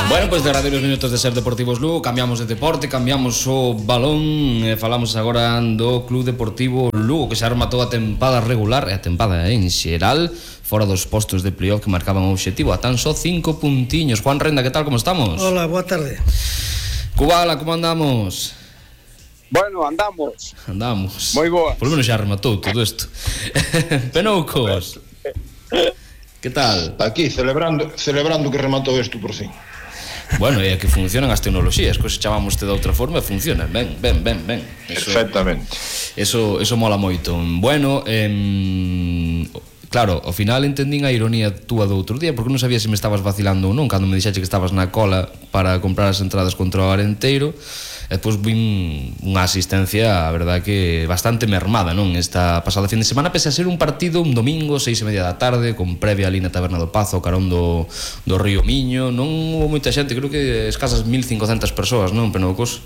Bueno, pois derradeiros minutos de Ser Deportivos Lugo. Cambiamos de deporte, cambiamos o balón e falamos agora do Club Deportivo Lugo, que xa rematou a tempada regular e a tempada en xeral fora dos postos de playoff que marcaban o obxectivo a tan só 5 puntiños. Juan Renda, que tal, como estamos? Hola, boa tarde. Cubala, como andamos? Bueno, andamos. Moi boa. Por lo menos xa rematou todo isto. Penoucos, que tal? Aquí, celebrando que rematou isto por fin. Bueno, é que funcionan as tecnoloxías, que se chamamos de outra forma e funcionan, ben. Perfectamente. Eso mola moito. Bueno, claro, ao final entendín a ironía túa do outro día, porque non sabía se me estabas vacilando ou non, cando me dixaxe que estabas na cola para comprar as entradas contra o Arenteiro, e depois vin unha asistencia, a verdade que bastante mermada, non? Esta pasada fin de semana, pese a ser un partido un domingo, 6:30 da tarde, con previa ali na Taberna do Pazo, carón do Río Miño. Non hubo moita xente, creo que escasas 1.500 persoas, non, Penoucos?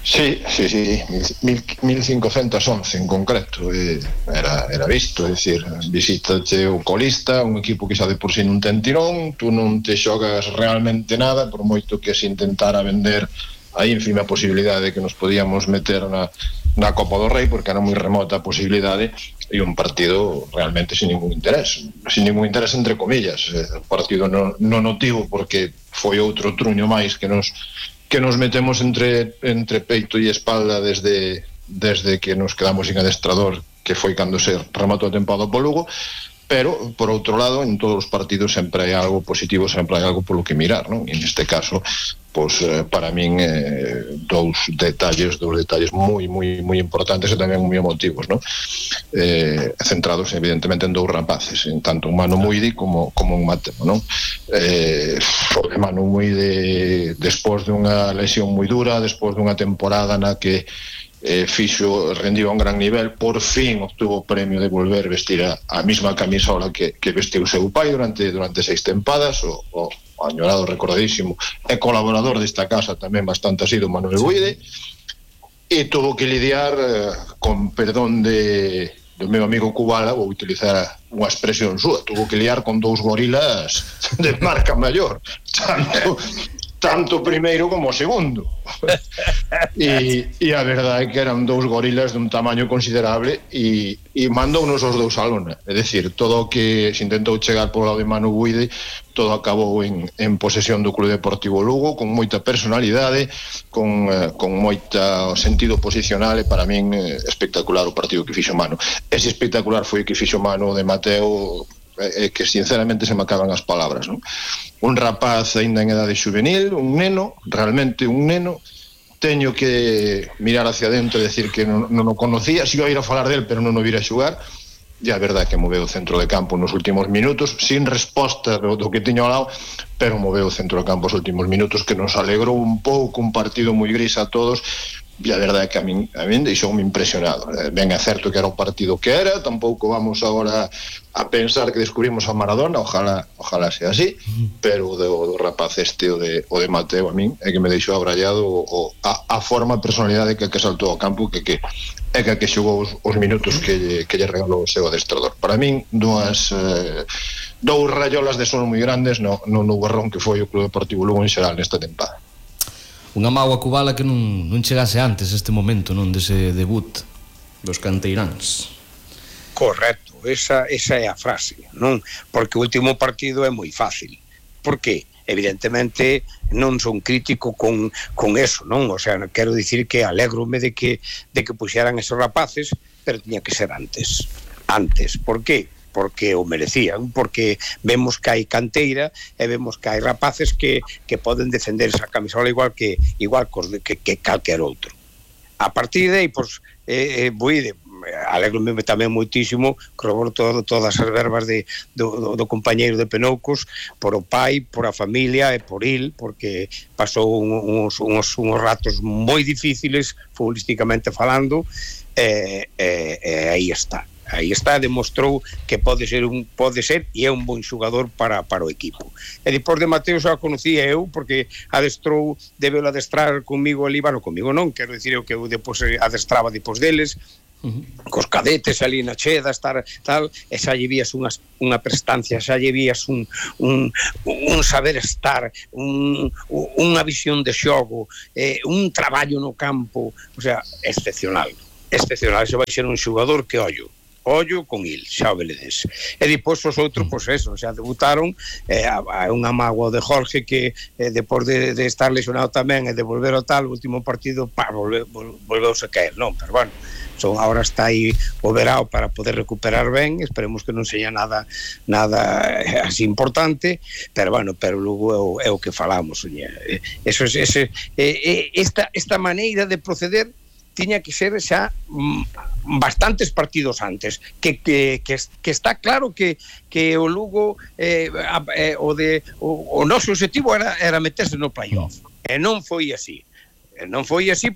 Sí, 1.511 en concreto. Era visto, é dicir, visitache o colista, un equipo que xa de por si non ten tirón, tú non te xogas realmente nada, por moito que se intentara vender a ínfima posibilidade de que nos podíamos meter na Copa do Rei, porque era moi remota a posibilidade, e un partido realmente sin ningún interés entre comillas. O partido non notivo, porque foi outro truño máis que nos metemos entre peito e espalda desde que nos quedamos sin adestrador, que foi cando se rematou a tempada po Lugo. Pero, por outro lado, en todos os partidos sempre hai algo positivo, sempre hai algo polo que mirar, non? E neste caso, pois, para min, dous detalles moi importantes e tamén moi emotivos, non? Centrados, evidentemente, en dous rapaces, en tanto en Manu Muidi como en Mateo, non? Manu Muidi, despois dunha lesión moi dura, despois dunha temporada na que rendiu a un gran nivel, por fin obtuvo o premio de volver vestir a mesma camisola que vestiu seu pai durante 6 tempadas, o añorado, recordadísimo e colaborador desta casa tamén bastante asido, Manuel Buide, e tuvo que lidiar con perdón do meu amigo Cubala, vou utilizar unha expresión súa, tuvo que liar con dous gorilas de marca maior, tanto o primeiro como o segundo. E a verdade é que eran dous gorilas dun tamaño considerable e mandounos os dous a lona. É dicir, todo o que se intentou chegar por lado de Manu Buide, todo acabou en posesión do Club Deportivo Lugo, con moita personalidade, con moita sentido posicional, e para min espectacular o partido que fixo Manu. Ese espectacular foi o que fixo Manu de Mateo, que sinceramente se me acaban as palabras, non? Un rapaz aínda en edade juvenil, un neno, realmente un neno. Teño que mirar hacia dentro e decir que non o conocía, si iba a ir a falar del, pero non o vira a xugar. E a verdade é que moveu o centro de campo nos últimos minutos, sin resposta do que tiño ao lado, pero moveu o centro de campo os últimos minutos, que nos alegrou un pouco, un partido moi gris a todos. E a verdade é que a min deixoume impresionado. Ben é certo que era o partido que era, tampouco vamos agora a pensar que descubrimos a Maradona, ojalá sea así, pero o rapaz o de Mateo, a min é que me deixou abrallado a forma, a personalidade que saltou ao campo, que xogou os minutos que lle regalou o seu adestrador. Para min, dous rayolas de sol moi grandes no nubarrón que foi o Club Deportivo Lugo en xeral nesta tempada. Unha mágoa Cubala que non chegase antes este momento, non, dese debut dos canteiráns. Correcto, esa é a frase, non? Porque o último partido é moi fácil. Por que? Evidentemente non son crítico con eso, non? O sea, quero dicir que alégrome de que puxeran esos rapaces, pero tiña que ser antes. Por que? Porque o merecían, porque vemos que hai canteira e vemos que hai rapaces que poden defender esa camisola igual que calquer outro. A partir de aí, pois, alégrome tamén moitísimo, corroboro todas as verbas do compañeiro de Penoucos, por o pai, por a familia e por il, porque pasou uns ratos moi difíciles futbolísticamente falando, e aí está. Aí está, demostrou que pode ser e é un bon xogador para o equipo. E depois de Mateo xa o conocía eu, porque debeu adestrar comigo ali, bueno, comigo non, quero dicir eu que eu depois adestraba depois deles, cos cadetes ali na cheda, estar tal, e xa lle vías unha prestancia, xa lle vías un saber estar, unha visión de xogo, un traballo no campo, o sea, excepcional, se vai ser un xogador que ollo con il, xa o veledes. E depois os outros, pois eso, xa debutaron, unha mágoa de Jorge que depois de estar lesionado tamén e de volver ao tal, o último partido, volveuse a caer, non, pero bueno, ahora está aí o verao para poder recuperar ben, esperemos que non seña nada así importante, pero bueno, pero logo é o que falamos, esta maneira de proceder tiña que ser xa bastantes partidos antes, que está claro que o Lugo o noso objetivo era meterse no playoff, e non foi así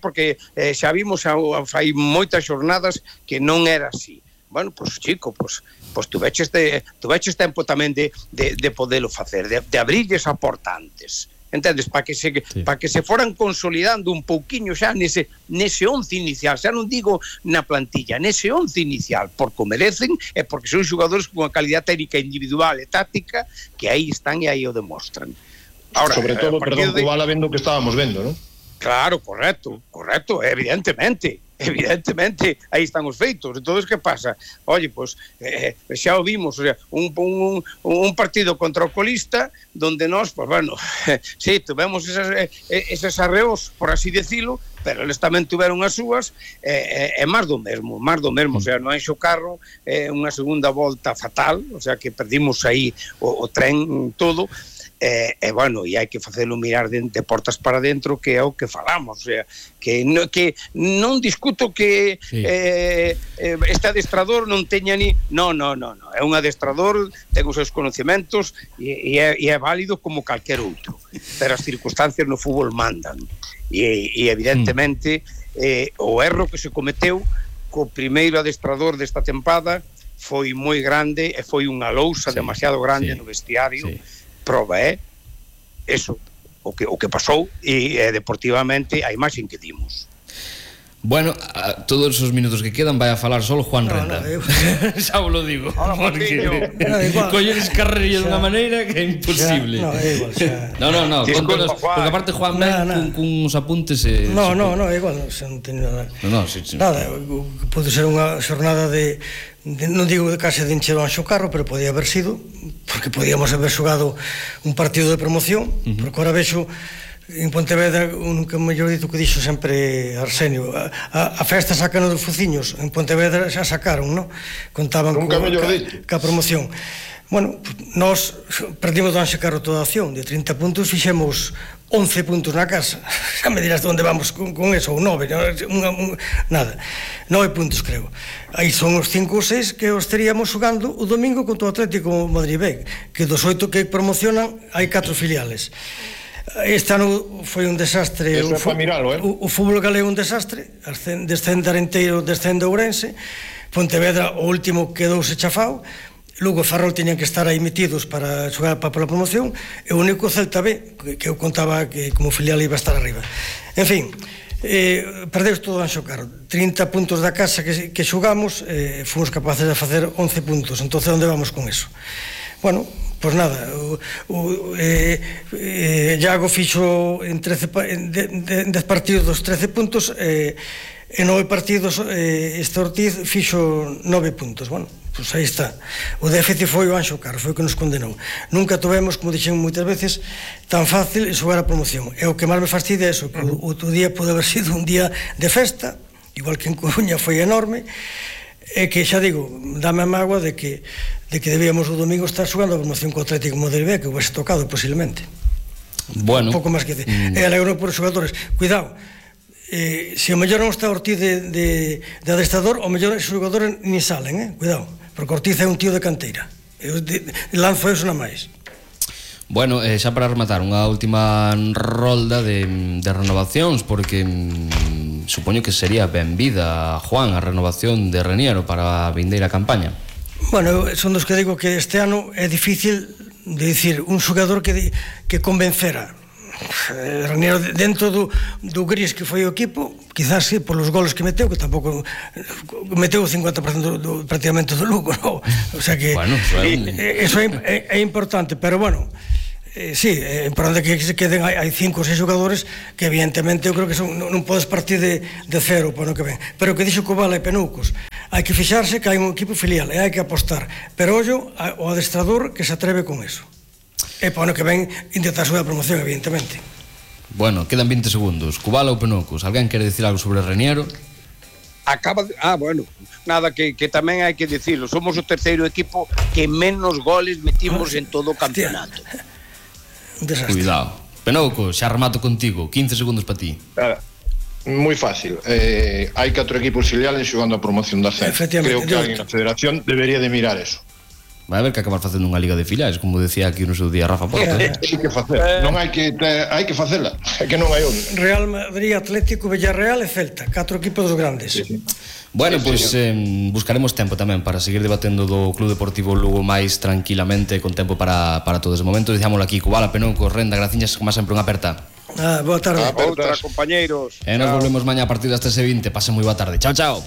porque xa vimos fai moitas xornadas que non era así. Bueno, pois chico, pois tuveches tempo tamén de podelo facer, de abrirlles a porta antes, entendes, para que se foran consolidando un pouquiño xa nese 11 inicial, xa non digo na plantilla, nese 11 inicial, porque o merecen e porque son xogadores con unha calidad técnica individual e táctica que aí están e aí o demostran. Ahora, sobre todo, perdón, Cubala vendo que estábamos vendo, non? Claro, correcto, evidentemente, aí están os feitos. Entonces, que pasa? Oye, pois, xa o vimos, o sea, un partido contra o colista, donde nós, pois, bueno, sí, tuvemos eses arreos, por así decirlo, pero eles tamén tuveron as súas, e máis do mesmo, o sea, no Anxo Carro, unha segunda volta fatal, o sea, que perdimos aí o tren todo, e bueno, e hai que facelo mirar de portas para dentro, que é o que falamos, o sea, que non discuto que este adestrador non teña no, é un adestrador, ten os seus conhecimentos e é válido como calquer outro, pero as circunstancias no fútbol mandan, e evidentemente o erro que se cometeu co primeiro adestrador desta tempada foi moi grande e foi unha lousa demasiado grande no vestiario. Proba eso, o que pasou, e deportivamente a imaxe que dimos. Bueno, todos os minutos que quedan vai a falar solo Juan Renda. Xa vos lo digo, porque colleres carrerillas dunha maneira que é imposible. No, porque aparte Juan ven cuns apuntes. No, é igual, non teño nada. Nada, pode ser unha xornada de non digo de case de encher o Anxo Carro, pero podía haber sido, porque podíamos haber xogado un partido de promoción, porque ahora vexo en Pontevedra, nunca mellor dito que dixo sempre Arsenio, a festa sacan dos fociños, en Pontevedra xa sacaron, non? Contaban ca promoción. Bueno, nós perdimos do Anxo Carro toda a acción, de 30 puntos fixemos 11 puntos na casa, xa me dirás de onde vamos con eso, ou 9, nada, 9 puntos creo. Aí son os 5 ou 6 que os teríamos xogando o domingo contra o Atlético Madrid B, que dos 8 que promocionan hai 4 filiales. Este ano foi un desastre, o fútbol galego un desastre, descende Arenteiro, descende Ourense, Pontevedra o último quedouse chafao, Lugo e Ferrol teñan que estar aí metidos para xogar para a promoción, e o único Celta B, que eu contaba que como filial iba a estar arriba. En fin, perdeus todo o Anxo Carro, 30 puntos da casa que xogamos, fomos capaces de facer 11 puntos, entonces onde vamos con eso? Bueno, pois nada, Iago fixo en 10 partidos dos 13 puntos, en 9 partidos este Ortiz fixo 9 puntos. Bueno, pois aí está, o déficit foi o Anxo Carro, foi o que nos condenou. Nunca tivemos, como dixen moitas veces, tan fácil xogar a promoción, e o que máis me fastidia é eso, que o día pode haber sido un día de festa, igual que en Coruña foi enorme, e que xa digo, dame a mágoa de que debíamos o domingo estar xogando a promoción co Atlético Madrid B, que houvese tocado posiblemente. Bueno, un pouco máis que e alegro por os xogadores. Cuidado, se o mellor non está Ortiz de adestrador, o mellor os xogadores nin salen, cuidado, porque Ortiz é un tío de canteira, lanzo eso na máis. Bueno, xa para rematar, unha última rolda de renovacións, porque supoño que sería benvida, Juan, a renovación de Reniero para a vindeira campaña. Bueno, son dos que digo que este ano é difícil de dicir un xogador que convencera. Raniero dentro do gris que foi o equipo, quizás sí, polos goles que meteu, que tampouco meteu o 50% prácticamente do Lugo, no? O sea que bueno, eso é importante, pero bueno, sí, é importante que se queden, hai 5 ou 6 xogadores que evidentemente eu creo que non podes partir de cero para o que ven, pero o que dixo Cobala e Penucos, hai que fixarse que hai un equipo filial e hai que apostar, pero ollo o adestrador que se atreve con eso. E para o ano que ven intentar subir a promoción, evidentemente. Bueno, quedan 20 segundos. Cubala ou Penucos, alguén quere dicir algo sobre Raniero? Bueno, nada, que tamén hai que dicirlo, somos o terceiro equipo que menos goles metimos en todo o campeonato. Cuidado. Penucos, xa remato contigo, 15 segundos para ti. Moi fácil, hai 4 equipos filiales xogando a promoción da ascenso. Creo que alguén na federación debería de mirar eso. Vai haber que acabar facendo unha liga de filiais, como decía aquí no seu día Rafa Porto. Hai que facer, non hai que facela, é que non hai onde. Real Madrid, Atlético, Villarreal e Celta, 4 equipos dos grandes. Sí. Bueno, pois buscaremos tempo tamén para seguir debatendo do Club Deportivo Lugo máis tranquilamente, con tempo para todo ese momento. Dicámoslo aquí, Cubala, Penucos, Renda, graciñas, como sempre, unha aperta. Boa tarde. Outra, compañeiros. E nos volvemos mañá a partir das 13:20. Pasen moi boa tarde. Chao, chao.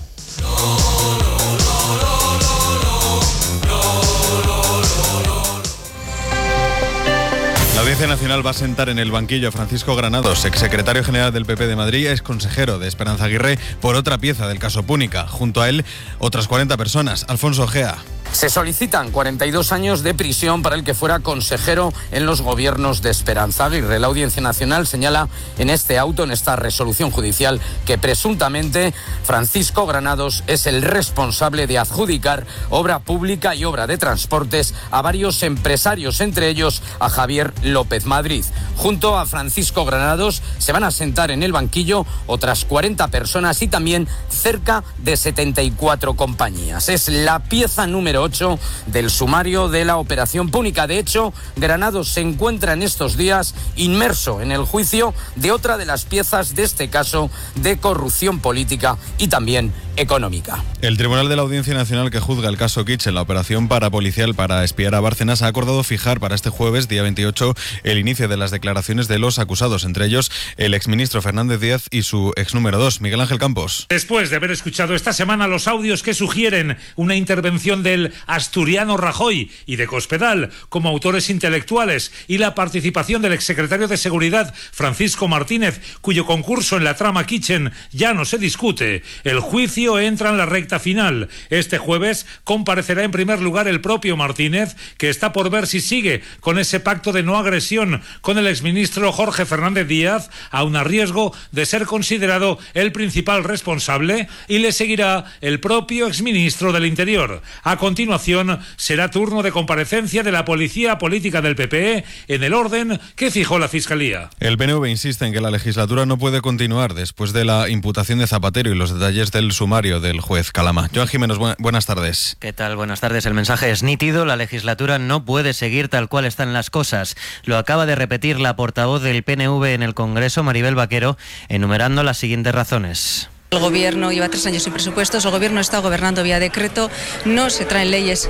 La Audiencia Nacional va a sentar en el banquillo a Francisco Granados, exsecretario general del PP de Madrid, ex consejero de Esperanza Aguirre, por otra pieza del caso Púnica. Junto a él, otras 40 personas. Alfonso Ojea. Se solicitan 42 años de prisión para el que fuera consejero en los gobiernos de Esperanza Aguirre. La Audiencia Nacional señala en este auto, en esta resolución judicial, que presuntamente Francisco Granados es el responsable de adjudicar obra pública y obra de transportes a varios empresarios, entre ellos a Javier López Madrid. Junto a Francisco Granados se van a sentar en el banquillo otras 40 personas y también cerca de 74 compañías. Es la pieza número 8 del sumario de la operación Púnica. De hecho, Granados se encuentra en estos días inmerso en el juicio de otra de las piezas de este caso de corrupción política y también económica. El Tribunal de la Audiencia Nacional que juzga el caso Kitchen, la operación parapolicial para espiar a Bárcenas, ha acordado fijar para este jueves, día 28, el inicio de las declaraciones de los acusados, entre ellos el exministro Fernández Díaz y su ex número 2, Miguel Ángel Campos. Después de haber escuchado esta semana los audios que sugieren una intervención del asturiano Rajoy y de Cospedal como autores intelectuales y la participación del exsecretario de Seguridad Francisco Martínez, cuyo concurso en la trama Kitchen ya no se discute, el juicio entra en la recta final. Este jueves comparecerá en primer lugar el propio Martínez, que está por ver si sigue con ese pacto de no agresión con el exministro Jorge Fernández Díaz, aun a riesgo de ser considerado el principal responsable, y le seguirá el propio exministro del Interior. A continuación será turno de comparecencia de la policía política del PP en el orden que fijó la Fiscalía. El PNV insiste en que la legislatura no puede continuar después de la imputación de Zapatero y los detalles del sumario del juez Calama. Joan Jiménez, buenas tardes. ¿Qué tal? Buenas tardes. El mensaje es nítido. La legislatura no puede seguir tal cual están las cosas. Lo acaba de repetir la portavoz del PNV en el Congreso, Maribel Vaquero, enumerando las siguientes razones. El gobierno lleva 3 años sin presupuestos, el gobierno está gobernando vía decreto, no se traen leyes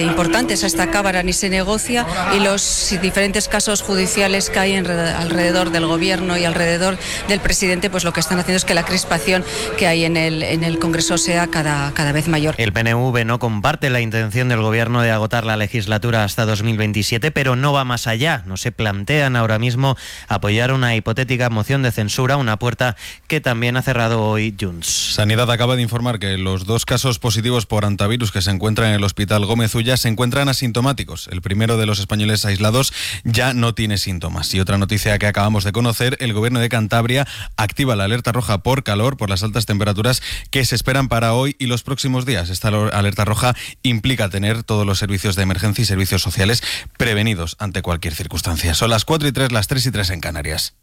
importantes a esta Cámara ni se negocia, y los diferentes casos judiciales que hay alrededor del gobierno y alrededor del presidente, pues lo que están haciendo es que la crispación que hay en el Congreso sea cada vez mayor. El PNV no comparte la intención del gobierno de agotar la legislatura hasta 2027, pero no va más allá. No se plantean ahora mismo apoyar una hipotética moción de censura, una puerta que también ha cerrado hoy Junts. Sanidad acaba de informar que los 2 casos positivos por hantavirus que se encuentran en el Hospital Gómez Ulla se encuentran asintomáticos. El primero de los españoles aislados ya no tiene síntomas. Y otra noticia que acabamos de conocer, el gobierno de Cantabria activa la alerta roja por calor, por las altas temperaturas que se esperan para hoy y los próximos días. Esta alerta roja implica tener todos los servicios de emergencia y servicios sociales prevenidos ante cualquier circunstancia. Son las 4:03, las 3:03 en Canarias.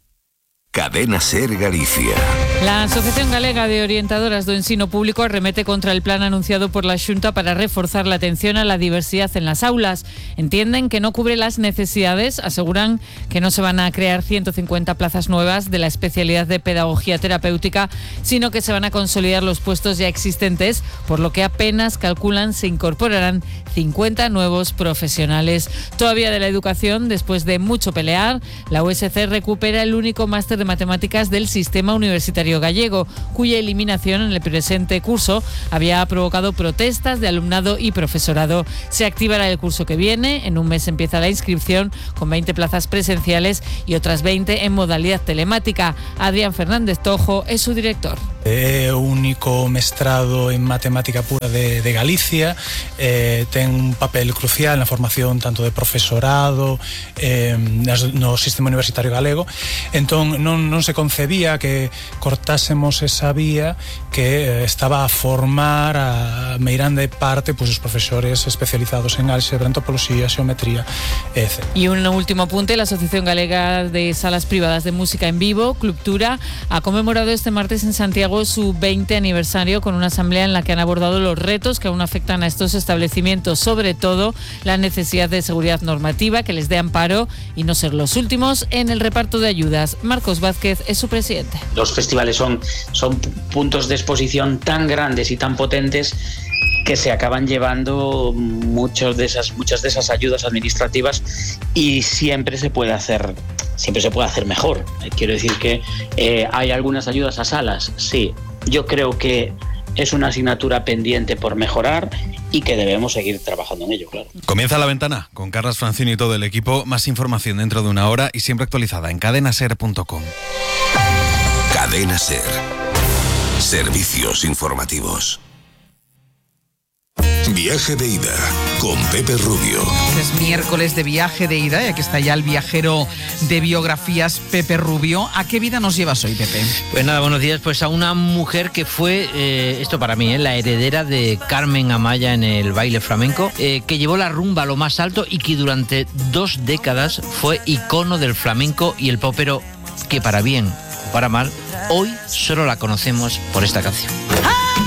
Cadena Ser Galicia. La Asociación Galega de Orientadoras do Ensino Público arremete contra el plan anunciado por la Xunta para reforzar la atención a la diversidad en las aulas. Entienden que no cubre las necesidades, aseguran que no se van a crear 150 plazas nuevas de la especialidad de pedagogía terapéutica, sino que se van a consolidar los puestos ya existentes, por lo que apenas calculan se incorporarán 50 nuevos profesionales. Todavía de la educación, después de mucho pelear, la USC recupera el único máster de matemáticas del sistema universitario gallego, cuya eliminación en el presente curso había provocado protestas de alumnado y profesorado. Se activará el curso que viene, en un mes empieza la inscripción con 20 plazas presenciales y otras 20 en modalidad telemática. Adrián Fernández Tojo es su director. É o único mestrado en matemática pura de Galicia, ten un papel crucial na formación tanto de profesorado no sistema universitario galego. Entón non se concebía que cortásemos esa vía que estaba a formar a meirande parte os profesores especializados en álgebra, antropoloxía, xeometría, etc. Y un último apunte, la Asociación Galega de Salas Privadas de Música en Vivo, Clubtura, ha conmemorado este martes en Santiago su 20 aniversario con una asamblea en la que han abordado los retos que aún afectan a estos establecimientos, sobre todo la necesidad de seguridad normativa que les dé amparo y no ser los últimos en el reparto de ayudas. Marcos Vázquez es su presidente. Los festivales son puntos de exposición tan grandes y tan potentes que se acaban llevando muchas de esas ayudas administrativas y siempre se puede hacer mejor. Quiero decir que hay algunas ayudas a salas, sí. Yo creo que es una asignatura pendiente por mejorar y que debemos seguir trabajando en ello, claro. Comienza La Ventana con Carlas Francini y todo el equipo. Más información dentro de una hora y siempre actualizada en cadenaser.com. Cadena Ser. Servicios informativos. Viaje de ida con Pepe Rubio. Es miércoles de viaje de ida y aquí está ya el viajero de biografías Pepe Rubio. ¿A qué vida nos llevas hoy, Pepe? Pues nada, buenos días. Pues a una mujer que fue, esto para mí, la heredera de Carmen Amaya en el baile flamenco, que llevó la rumba a lo más alto y que durante 2 décadas fue icono del flamenco y el popero, que para bien o para mal, hoy solo la conocemos por esta canción.